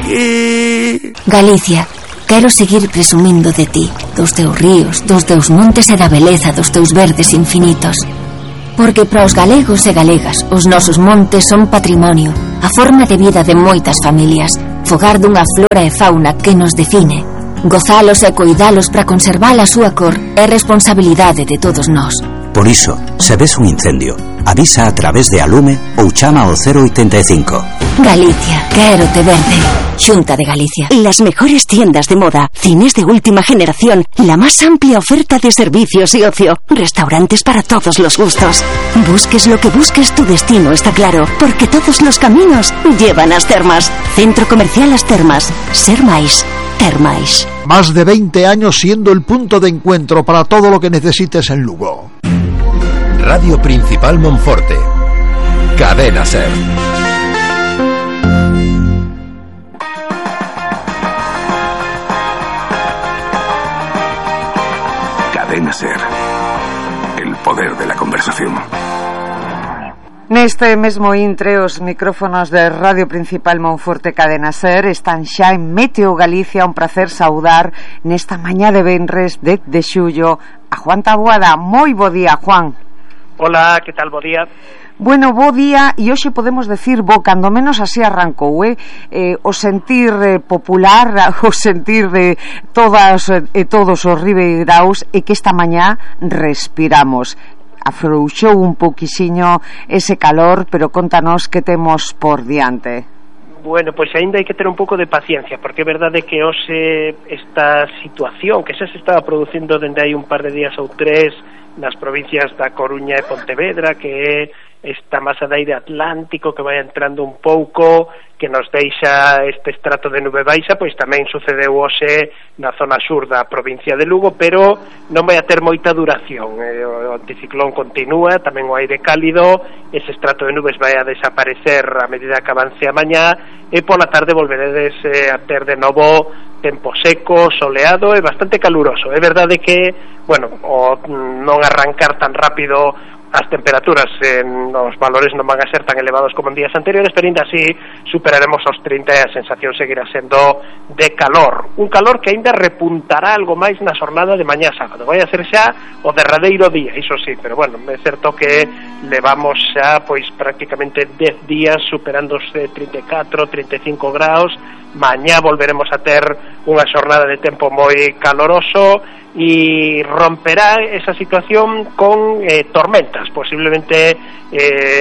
aquí. Galicia, quero seguir presumindo de ti, dos teus ríos, dos teus montes e da beleza dos teus verdes infinitos. Porque para os galegos e galegas os nosos montes son patrimonio, a forma de vida de moitas familias, fogar dunha flora e fauna que nos define. Gozalos e coidalos para conservar a súa cor é responsabilidade de todos nós. Por iso, se ves un incendio, avisa a través de Alume ou chama ao 085. Galicia, quérote verde. Xunta de Galicia. Las mejores tiendas de moda, cines de última generación, la más amplia oferta de servicios y ocio, restaurantes para todos los gustos. Busques lo que busques, tu destino está claro, porque todos los caminos llevan a As Termas. Centro Comercial As Termas. Ser máis. Termais. Más de 20 años siendo el punto de encuentro para todo lo que necesites en Lugo. Radio Principal Monforte. Cadena Ser. Cadena Ser. El poder de la conversación. Neste mesmo intre, os micrófonos de Radio Principal Monforte Cadena Ser están xa en Meteo Galicia. Un placer saudar nesta mañá de venres 10 de xullo a Juan Taboada. Moi bo día, Juan. Hola, que tal, bo día? Bueno, bo día, e hoxe podemos decir bo, cando menos así arrancou, o sentir popular, o sentir de todas e todos os ribeiraos, e que esta mañá respiramos. Afrouxou un pouquixiño ese calor, pero contanos que temos por diante. Bueno, pois aínda hai que ter un pouco de paciencia, porque é verdade que hoxe esta situación que xa se estaba producindo dende hai un par de días ou tres nas provincias da Coruña e Pontevedra, que é esta masa de aire atlántico que vai entrando un pouco, que nos deixa este estrato de nube baixa, pois tamén sucedeu hoxe na zona sur da provincia de Lugo, pero non vai a ter moita duración. O anticiclón continúa, tamén o aire cálido, ese estrato de nubes vai a desaparecer a medida que avance a mañá, e pola tarde volveredes a ter de novo tempo seco, soleado e bastante caluroso. É verdade que, bueno, o non arrancar tan rápido as temperaturas nos valores non van a ser tan elevados como en días anteriores, pero ainda así superaremos os 30 e a sensación seguirá sendo de calor. Un calor que ainda repuntará algo máis na xornada de mañá sábado. Vai a ser xa o derradeiro día, iso sí, pero bueno, é certo que levamos xa pois prácticamente 10 días superando os 34, 35 graus. Mañá volveremos a ter unha xornada de tempo moi caloroso e romperá esa situación con tormentas. Posiblemente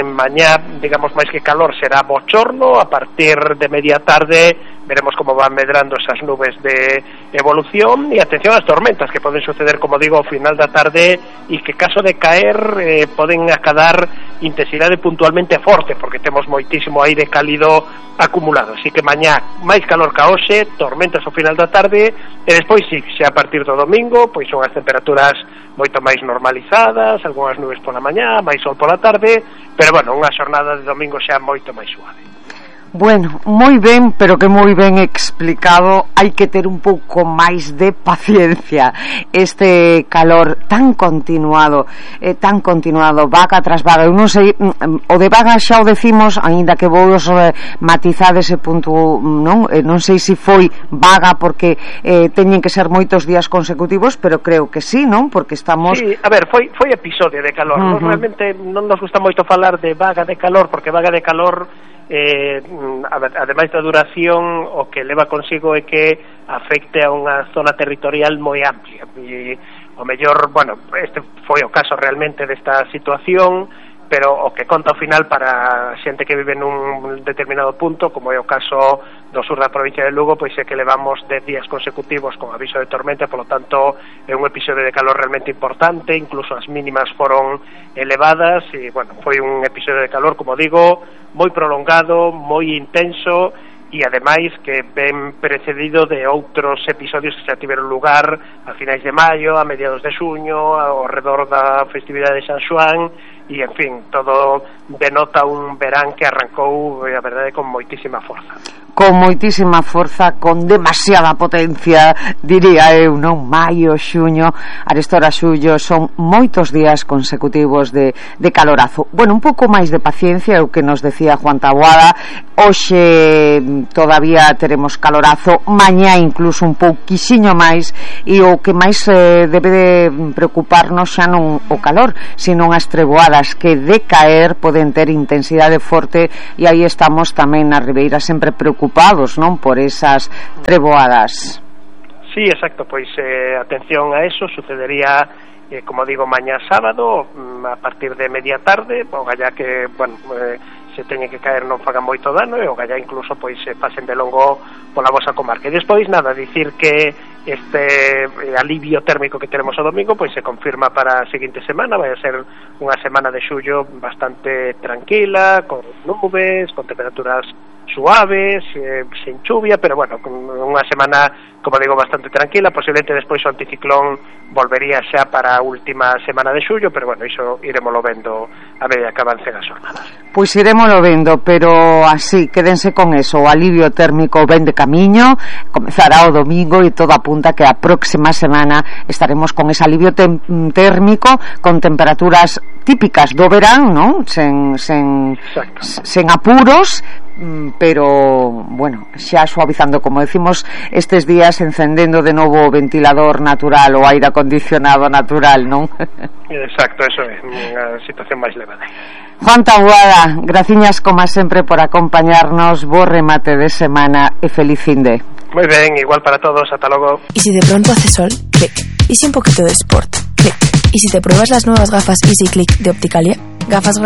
mañá, digamos, máis que calor, será bochorno. A partir de media tarde veremos como van medrando esas nubes de evolución, e atención ás tormentas que poden suceder, como digo, ao final da tarde, e que caso de caer poden acadar intensidade puntualmente forte, porque temos moitísimo aire cálido acumulado. Así que mañá máis calor ca hoxe, tormentas ao final da tarde, e despois sí, xa a partir do domingo pois son as temperaturas moito máis normalizadas, algunhas nubes pola mañá, máis sol pola tarde, pero bueno, unha xornada de domingo xa moito máis suave. Bueno, moi ben, pero que moi ben explicado. Hai que ter un pouco máis de paciencia. Este calor tan continuado, vaga tras vaga. Eu non sei, o de vaga xa o decimos, aínda que vos matizar ese punto, non sei se foi vaga porque teñen que ser moitos días consecutivos, pero creo que sí, non? Porque estamos... Sí, a ver, foi episodio de calor. Realmente non nos gusta moito falar de vaga de calor, porque vaga de calor, ademais da duración, o que leva consigo é que afecte a unha zona territorial moi amplia, e o mellor, bueno, este foi o caso realmente desta situación, pero o que conta ao final para xente que vive nun determinado punto, como é o caso do sur da provincia de Lugo, pois é que levamos 10 días consecutivos con aviso de tormenta, polo tanto é un episodio de calor realmente importante, incluso as mínimas foron elevadas, e bueno, foi un episodio de calor, como digo, moi prolongado, moi intenso, e ademais que ben precedido de outros episodios que xa tiveron lugar a finais de maio, a mediados de xuño, ao redor da festividade de San Xoán, e en fin, todo denota un verán que arrancou, a verdade, con moitísima forza. con moitísima forza, con demasiada potencia, diría eu, non? Maio, xuño, arestora xullo, son moitos días consecutivos de calorazo. Bueno, un pouco máis de paciencia, o que nos decía Juan Taboada. Hoxe todavía teremos calorazo, mañá incluso un pouquixiño máis, e o que máis debe de preocuparnos xa non o calor, sino as treboadas que de caer poden ter intensidade forte, e aí estamos tamén na Ribeira sempre preocupados, non, por esas treboadas. Sí, exacto, pois atención a eso, sucedería como digo, mañá sábado a partir de media tarde, o galla que, bueno, se teñe que caer non faga moito dano, e o galla incluso pois se pasen de longo pola vosa comarca. E despois nada, dicir que este alivio térmico que teremos o domingo pois se confirma para a seguinte semana. Vai a ser unha semana de xullo bastante tranquila, con nubes, con temperaturas suaves, sin chuvia, pero bueno, unha semana, como digo, bastante tranquila. Posiblemente despois o anticiclón volvería xa para a última semana de xullo, pero bueno, iso iremoslo vendo a medida que avancen as jornadas. Pois iremoslo vendo, pero así, quédense con eso, o alivio térmico ven de camiño, comezará o domingo e todo apunta que a próxima semana estaremos con ese alivio térmico, con temperaturas típicas do verán, non? Sen apuros, pero bueno, xa suavizando, como decimos, estes días encendendo de novo o ventilador natural, o aire acondicionado natural, non? Exacto, eso é unha situación máis levada. Juan Taboada, graciñas como sempre por acompañarnos, bo remate de semana e feliz finde. Moi ben, igual para todos, ata logo. Y si de pronto hace sol, clic. Y si un poquito de sport, clic. Y si te pruebas las nuevas gafas Easy Click de Opticalia, gafas graduadas